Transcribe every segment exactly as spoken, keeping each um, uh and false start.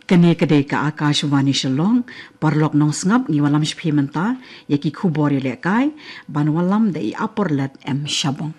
Kane ka dei ka Akashvani Shillong. Paralok nongsngap, ngi wallam shiphi mynta ïa ki khubor ïalehkai, ban wallam da i Aporlet M Shabong.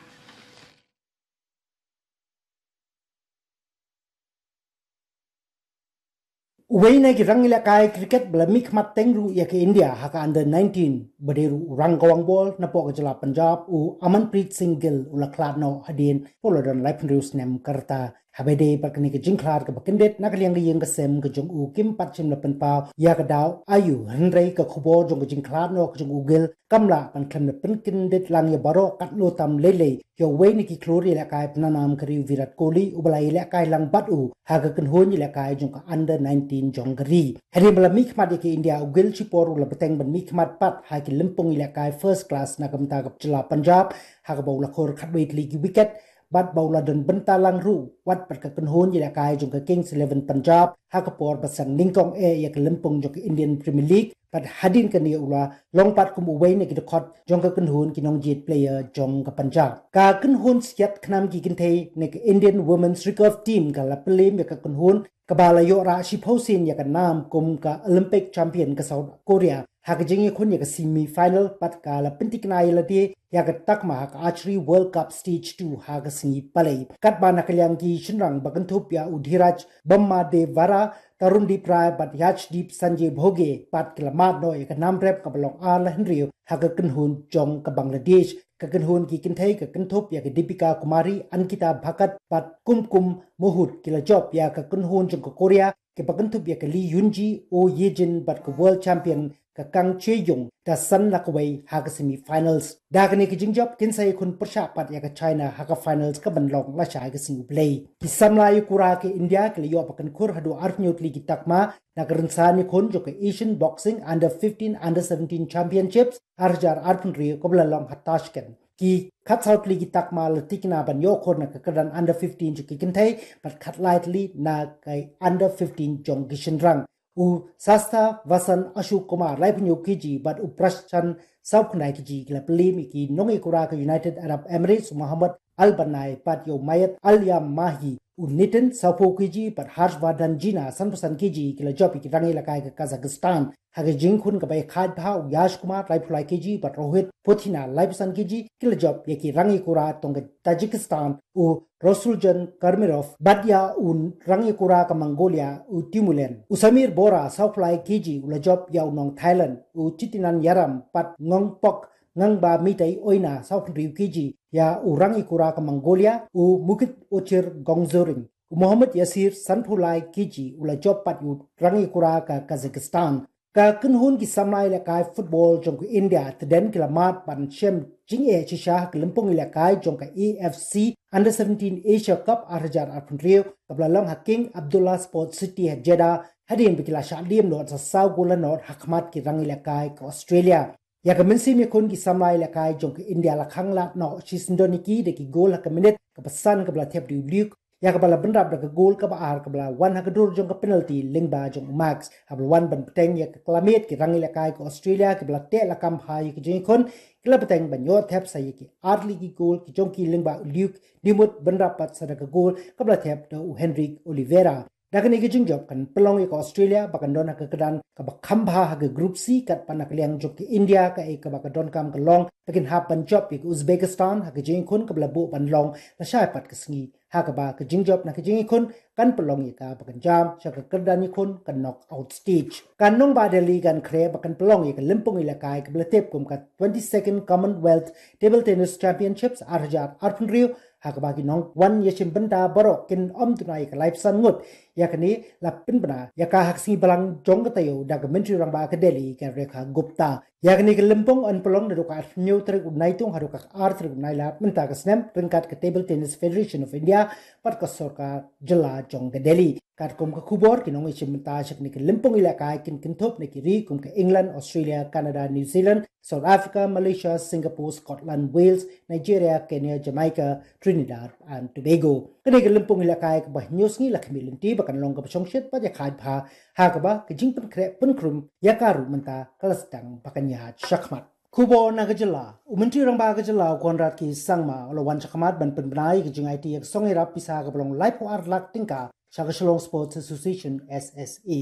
Uwei na ki rangïalehkai cricket ba la mihkhmat teng ruh ïa ka India ha ka under nineteen, ba dei ruh u rangkawang bol napoh ka jylla Punjab, u Amanpreet Singh Gill, u la khlad noh hadien ba u la don laiphew hynriew snem ka rta. Haba ïadei bad kane ka jingkhlad kaba kyndit na ka liang ka ïing ka sem ka jong u, kim pat shym la pynpaw ïa ka daw aïu, hynrei ka khubor jong ka jingkhlad noh ka jong u Gill kam lah ban khlem da pynkyndit lang ïa baroh, katno tam lei lei ïa uwei na ki khlur ïalehkai pynanam ka ri, u Virat Kohli, uba la ïalehkai lang bad u ha ka kynhun ïalehkai jong ka under nineteen jong ka ri. Hadien ba la mihkhmat ïa ka India, u Gill shipor u la bteng ban mihkhmat pat ha ki lympung ïalehkai first class na ka bynta ka jylla Punjab, ha kaba u la khur khatwei tylli ki wicket, bad ba u la don bynta lang ruh wat bad ka kynhun ïalehkai jong ka Kings Eleven Punjab ha ka por ba sdang nyngkong eh ïa ka lympung jong ka Indian Premier League, bad hadien kane u la long pat kum uwei na ki dkhot jong ka kynhun ki nongjied player jong ka Punjab. Ka kynhun siat khnam ki kynthei na ka Indian Women's Recurve Team ka la pynlem ïa ka kynhun kaba la ïoh rah shiphew sien ïa ka nam kum ka Olympic champion, ka South Korea, ha ka jingïakhun ïa ka semi final, bad ka la pynthikna ïa lade ïa ka takma ha ka Archery World Cup Stage two ha ka sngi Palei. Katba na ka liang ki shynrang ba kynthup ïa u Dheeraj Bommadewara, Tarundeep Rai bad Yashdeep Sanjay Bhoge pat ki la mad noh ïa ka nam rep kaba long ar la hynriew ha ka kynhun jong ka Bangladesh. Ka kynhun ki kynthei ka kynthup ïa ka Deepika Kumari, Ankita Bhakat bad Kumkum Mohit ki la jop ïa ka kynhun jong ka Korea kiba kynthup ïa ka Lee Yunji, Oh Yejin bad ka world champion ka Kang Cheoyong da san la kawei ha ka semi finals. Da kane ka jingjop kin sa ïakhun pyrshah pat ïa ka China ha ka finals kaban long lashai ka sngi U Blei. Ki samla ïakura ka India ki la ïoh ba kynkhur haduh arphew tylli ki takma na ka rynsan ïakhun jong ka Asian Boxing Under fifteen Under seventeen Championships ar hajar arphew hynriew kaba la long ha Tashkent. Ki khatsaw tylli ki takma la thikna ban ïoh khur na ka kyrdan under fifteen jong ki kynthei, bad khatlai tylli na ka under fifteen jong ki shynrang. U Sastha Vasan Ashok Kumar, laiphew hynñiew kg, bad u Prashant, sawphew khyndai kg, ki la pynlem ïa ki nongïakura ka United Arab Emirates, u Mohammed Al Banai, bad ïa u Mayet Al Yamahi, u Nitin, sawphew kg, bad Harshvardhan Jina, sanphew san kg, ki la jop ïa ki rangïalehkai ka Kazakhstan. Ha ka jingïakhun kaba ïakhaid bha, u Yash Kumar, laiphew lai kg, bad Rohit Pothina, laiphew san kg, ki la jop ïa ki rangïakura tong ka Tajikistan, u Rasuljan Kamirov, bad ïa u rangïakura ka Mongolia, u Timulen. U Samir Bora, sawphew lai kg, u la jop ïa u nong Thailand, u Chitinan Yaram, bad Ngongpok Ngangba Mitai Oina, sawphew hynriew kg, ïa u rangïakura ka Mongolia, u Mukit Ochir Gongzoring. U Mohammed Yasir, sanphew lai kg, u la jop pat ïa u rangïakura ka Kazakhstan. Ka kynhun ki samla ïalehkai football jong ka India, tdem ki la mad ban shem jingeh shisha ha ka lympung ïalehkai jong ka A F C Under seventeen Asia Cup ar hajar arphew hynriew, kaba la long ha King Abdullah Sports City ha Jeddah, hadien ba ki la shah diem noh sa saw gol la nod ha khmat ki rangïalehkai ka Australia. Ïa ka mynsiem ïakhun ki samla ïalehkai jong ka India la khanglad noh shisyndon ïa ki da ki gol ha ka minit kaba san, kaba la thep da u Luke, ïa kaba la bynrap da ka gol kaba ar kaba la wan ha ka dur jong ka penalty lyngba jong u Max. Haba la wan ban bteng ïa ka klamit, ki rangïalehkai ka Australia kiba la teh lakam bha ïa ka jingïakhun, ki la bteng ban ïoh thep sa ïa ki ar tylli ki gol ki jong ki lyngba u Luke, dei mut bynrap pat sa da ka gol kaba la thep da u Henrique Oliveira. Da kane ka jingjop kan pynlong ïa ka Australia ba kan don ha ka kyrdan kaba kham bha ha ka Group C, katba na ka liang jong ka India kaei kaba ka donkam ka long ba kin hap ban jop ïa ka Uzbekistan ha ka jingïakhun kaba la buh ban long lashai pat ka sngi. Ha kaba ka jingjop na ka jingïakhun kan pynlong ïa ka ba kan jam sha ka kyrdan ïakhun ka knockout stage. Ka nongbah Delhi kan khreh ba kan pynlong ïa ka lympung ïalehkai kaba la tip kum ka twenty-second Commonwealth Table Tennis Championships ar hajar arphew hynriew, ha kaba ki nongwan ïashim bynta baroh kin ym duna ïa ka laiphew san ngut. Ïa kane la pynbna ïa ka ha ka sngi Balang jong ka taïew da ka Myntri Rangbah ka Delhi ka Rekha Gupta. Ïa kane ka lympung yn pynlong naduh ka arphew hynñiew tarik u Naitung haduh ka ar tarik u Nailar mynta ka snem, ryngkat ka Table Tennis Federation of India bad ka sorkar jylla jong ka Delhi. Katkum ka khubor, ki nongïashim bynta sha kane ka lympung ïalehkai kin kynthup na ki ri kum ka England, Australia, Canada, New Zealand, South Africa, Malaysia, Singapore, Scotland, Wales, Nigeria, Kenya, Jamaica, Trinidad and Tobago. Kane ka lympung ïalehkai kaba hynñiew sngi la khmih lynti ba kan long kaba shongshit bad ïakhaid bha, ha kaba ka jingpynkhreh pynkhrum ïa ka ruh mynta ka la sdang ba kan ïaid shakhmat. Khubor na ka jylla. U Myntri Rangbah ka jylla u Conrad K Sangma u la wan shakhmat ban pynbna ïa ka jingaiti ïa ka song ïarap pisa kaba long laiphew ar lak tyngka sha ka Shillong Sports Association, S S A.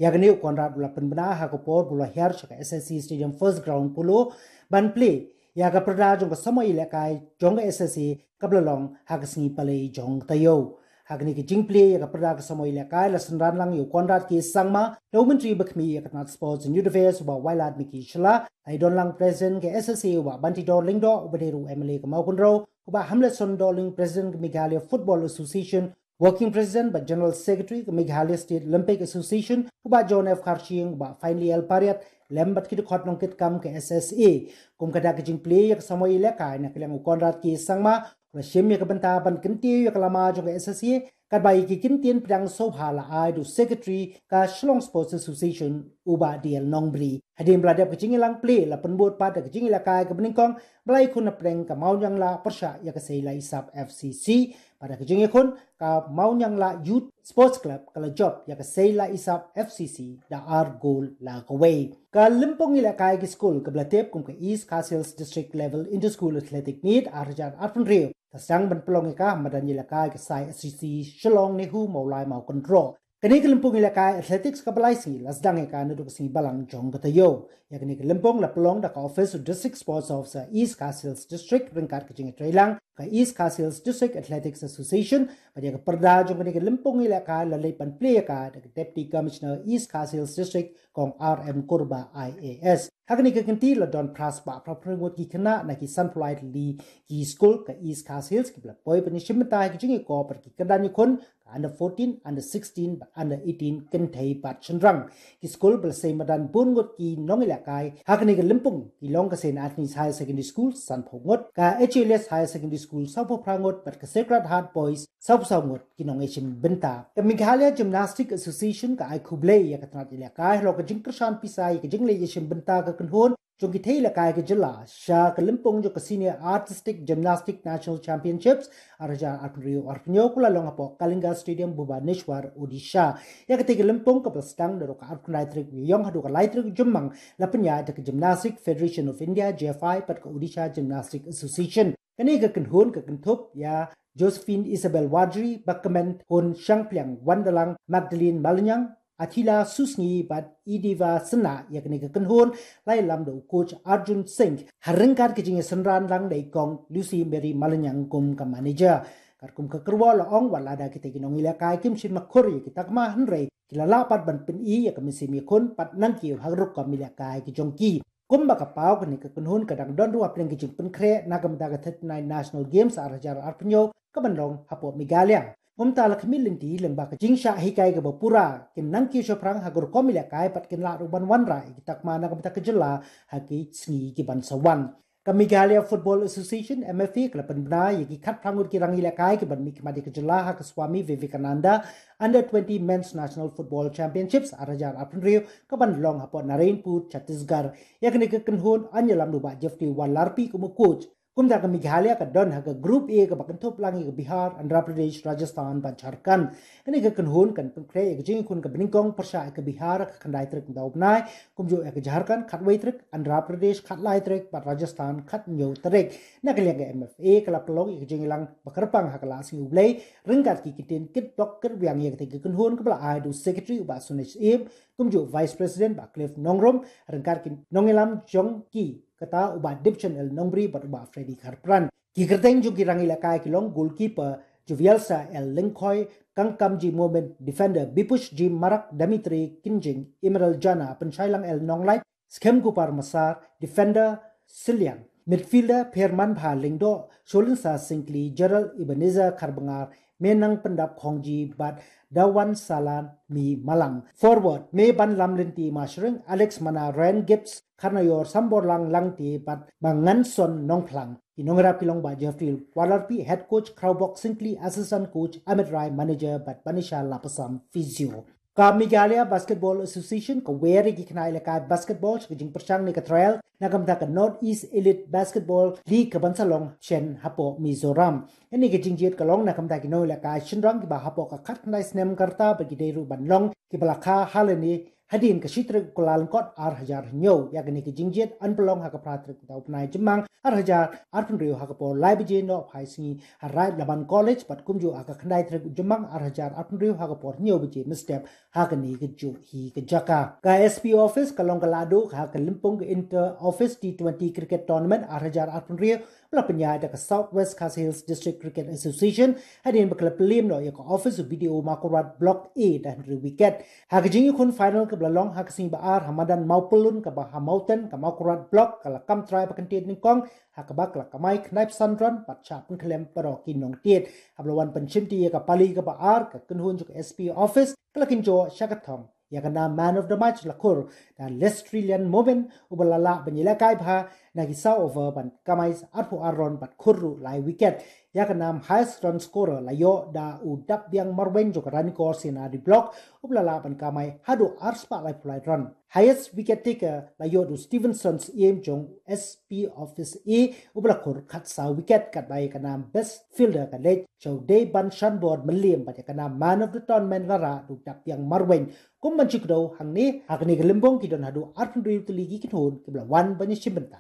Ïa kane u Conrad u la pynbna ha ka por ba u la hiar sha ka S S A Stadium First Ground Polo ban plie ïa ka pyrda jong ka samoi ïalehkai jong ka S S A kaba la long ha ka sngi Palei jong ka taïew. Ha kane ka jingplie ïa ka pyrda ka samoi ïalehkai la synran lang ïa u Conrad K Sangma da u Myntri ba khmih ïa ka tnat Sports and Youth Affairs u Bah Wailadmiki Shylla, la ïadon lang President ka S S A u Bah Bantidor Lyngdoh, uba dei ruh u M L A ka Mawkynrew, u Bah Hamletson Dohling, President ka Meghalaya Football Association, Working President bad General Secretary ka Meghalaya State Olympic Association, u Bah John F Kharshiing, u Bah Finelly L Pariat, lem bad ki dkhot nongkitkam ka S S A. Kum ka dak ka jingplie ïa ka samoi ïalehkai, na ka liang u Conrad K Sangma u la shim ïa ka bynta ban kyntiew ïa ka lama jong ka S S A, katba ïa ki kyntien pdiang sngewbha la ai da u Secretary ka Shillong Sports Association u Bah D L Nongbri. Hadien ba la dep ka jingïalang plie, la pynbud pat da ka jingïalehkai kaba nyngkong ba la ïakhun hapdeng ka Mawniangla pyrshah ïa ka Seilaisav F C C, bad da ka jingïakhun ka Mawniangla Youth Sports Club ka la jop ïa ka Seilaisav F C C da ar gol la kawei. Ka lympung ïalehkai ki skul kaba la tip kum ka East Khasi Hills District Level Inter-School Athletic Meet ar hajar arphew hynriew ka sdang ban pynlong ïa ka ha madan ïalehkai ka Sai S C C Shillong NEHU Mawlai Mawkynroh. Kane ka lympung ïalehkai athletics kaba lai sngi la sdang ïa ka naduh ka sngi Balang jong ka taïew. Ïa kane ka lympung la pynlong da ka office u District Sports Officer East Khasi Hills District ryngkat ka jingïatreilang ka East Khasi Hills District Athletics Association, bad ïa ka pyrda jong kane ka lympung ïalehkai la leit ban plie ïa ka da ka Deputy Commissioner East Khasi Hills District Kong R M Kurbah I A S. Ha kane ka kynti la don phra spah phra phew ngut ki khynnah na ki sanphew lai tylli ki skul ka East Khasi Hills kiba la poi ban ïashim bynta ha ki jingïakop bad ki kyrdan ïakhun ka under fourteen, under sixteen bad under eighteen, kynthei bad shynrang. Ki skul ba la sei madan bun ngut ki nongïalehkai ha kane ka lympung ki long ka Saint Anthony's Higher Secondary School sanphew ngut, ka H A L S Higher Secondary School sawphew phra ngut bad ka Sacred Heart Boys sawphew saw ngut ki nongïashim bynta. Ka Meghalaya Gymnastic Association ka ai khublei ïa ka tnat ïalehkai halor ka jingkyrshan pisa ïa ka jingleit ïashim bynta ka kynhun jong ki thei ïalehkai ka jylla sha ka lympung jong ka Senior Artistic Gymnastic National Championships ar hajar arphew hynriew arphew hynñiew, ka la long hapoh Kalinga Stadium, Bhubaneswar, Odisha. Ïa katei ka lympung kaba la sdang naduh ka arphew khyndai tarik u Ïaïong haduh ka lai tarik u Jymmang la pynïaid da ka Gymnastic Federation of India, G F I, bad ka Odisha Gymnastic Association. Kane ka kynhun ka kynthup ïa Josephine Isabel Warjri, ba kmen hun shangpliang Wandalang Magdalene Malinyang, Athila Susngi bad Idiva Synnah. Ïa kane ka kynhun la ïalam da u coach Arjun Singh, ha ryngkat ka jingïasynran lang da i Kong Lucy Mary Malinyang kum ka manager. Katkum ka kyrwoh la ong, wat lada kitei ki nongïalehkai kim shym la khur ïa ki takma, hynrei ki la lah pat ban pyni ïa ka mynsiem ïakhun bad nangkiew ha ka rukom ïalehkai ki jong ki. Kumba ka paw, kane ka kynhun ka dang don ruh hapdeng ka jingpynkhreh na ka bynta ka thirty-nine National Games ar hajar arphew hynñiew kaban long hapoh Meghalaya. Kumta la khmih lynti lyngba ka jingshah hikai kaba pura, kin nangkiew shaphrang ha ka rukom ïalehkai bad kin lah ruh ban wanrah ïa ki takma na ka bynta ka jylla ha ki sngi kiban sa wan. Ka Meghalaya Football Association, M F A, ka la pynbna ïa ki khatphra ngut ki rangïalehkai kiban mihkhmat ïa ka jylla ha ka Swami Vivekananda Under twenty Men's National Football Championships ar hajar arphew hynriew kaban long hapoh Narayanpur, Chhattisgarh. Ïa kane ka kynhun yn ïalam da u Bah Jeffrey Wallarpi kum u coach. Kumta ka Meghalaya ka don ha ka Group A kaba kynthup lang ïa ka Bihar, Andhra Pradesh, Rajasthan bad Jharkhand. Kane ka kynhun kan pynkhreh ïa ka jingïakhun kaba nyngkong pyrshah ïa ka Bihar ha ka khyndai tarik mynta u bnai, kumjuh ïa ka Jharkhand khatwei tarik, Andhra Pradesh khatlai tarik bad Rajasthan khathynñiew tarik. Na ka liang ka M F A ka la pynlong ïa ka jingïalang ba kyrpang ha ka la sngi U Blei ryngkat ki kyntien kitbok kitwiang ïa katei ka kynhun kaba la ai da u Secretary u Bah Sunesh Syiem, kumjuh Vice President Bah Cliff Nongrum, ryngkat ki nongïalam jong ki, kata u Bah Dipson L Nongbri bad u Bah Freddy Kharpran. Ki kyrteng jong ki rangïalehkai ki long goalkeeper Juvialsa L Lyngkhoi, Kangkamji Momin, defender Bipush G Marak, Dimitri Kynjing, Emerald Jana, Pynshailang L Nonglait, Skhem Kupar Massar, defender Sylliang, midfielder Phermanbha Lyngdoh, Sholinsa Syngkli, Gerald Ebenezer Kharbngar, Menang Pyndap Khongji bad Dawan Salan Mi Malang. Forward, Mebanlam Lynti Mashring, Alex Mana, Ryan Gibbs, Kharnaior Samborlang Langte bad Manganson Nongphlang. Ki nongïarap ki long Bah Jeffrey Wallarpi, head coach, Khraobok Syngkli, assistant coach Amit Rai, manager, bad Banisha Lapasam, physio. Ka Meghalaya Basketball Association ka wer ïa ki khynnah ïalehkai basketball sha ka jingpyrshang ne ka trial na ka bynta ka North East Elite Basketball League kaban sa long shen hapoh Mizoram. Kane ka jingjied ka long na ka bynta ki nongïalehkai shynrang kiba hapoh ka khatkhyndai snem ka rta bad ki dei ruh ban long kiba la kha ha lane hadien ka shi tarik u Kyllalyngkot ar hajar hynñiew. Ïa kane ka jingjied yn pynlong ha ka phra tarik u bnai Jymmang ar hajar arphew hynriew ha ka por lai baje noh phai sngi ha Raid Laban College bad kumjuh ha ka khyndai tarik u Jymmang ar hajar arphew hynriew ha ka por hynñiew baje mynstep ha kane kajuh hi ka jaka. Ka S P Office ka long ka lahduh ha ka lympung ka Inter Office T twenty Cricket Tournament ar hajar arphew hynriew ba la pynïaid da ka South West Khasi Hills District Cricket Association hadien ba ka la pynliem noh ïa ka office u B D O Mawkyrwat Block A da hynriew wicket. Ha ka jingïakhun final kaba la long ha ka sngi ba ar ha madan Mawpyllun kaba ha Mawten, ka Mawkyrwat Block ka la kam trai ba kyntien nyngkong ha kaba ka la kamai khyndai phew san run bad shah pynkhlem baroh ki nongtied. Haba la wan pynshimti ïa ka pali kaba ar, ka kynhun jong ka S P Office ka la kynjoh sha ka thong. Ïa ka nam Man of the Match la khur da Lestrilian Momin uba la lah ban ïalehkai bha na ki saw over ban kamai arphew ar run bad khur ruh lai wicket. Ïa ka nam Highest Run Scorer la ïoh da u Dapbiang Marwein jong ka Ranikor C&RD Block uba la lah ban kamai haduh ar spah laiphew lai run. Highest Wicket Taker la ïoh da u Stevenson Syiem jong S P Office A uba la khur khatsaw wicket. Katba ïa ka nam Best Fielder ka leit sha u Deiban Shanbor Mylliem bad ïa ka nam Man of the Tournament la rah da u Dapbiang Marwein. Kum ban shu kdew hangne, ha kane ka lympung ki don haduh arphew hynriew tylli ki kynhun kiba la wan ban ïashim bynta.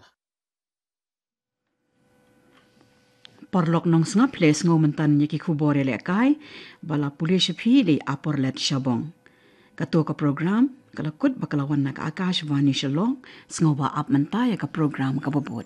Paralok nongsngap, phi la ïohsngew mynta ïa ki khubor ïalehkai ba la pule sha phi da i Aporlet Shabong. Kato ka program ka la kut ba ka la wan na ka Akashvani Shillong. Sngewbha ap mynta ïa ka program kaba bud.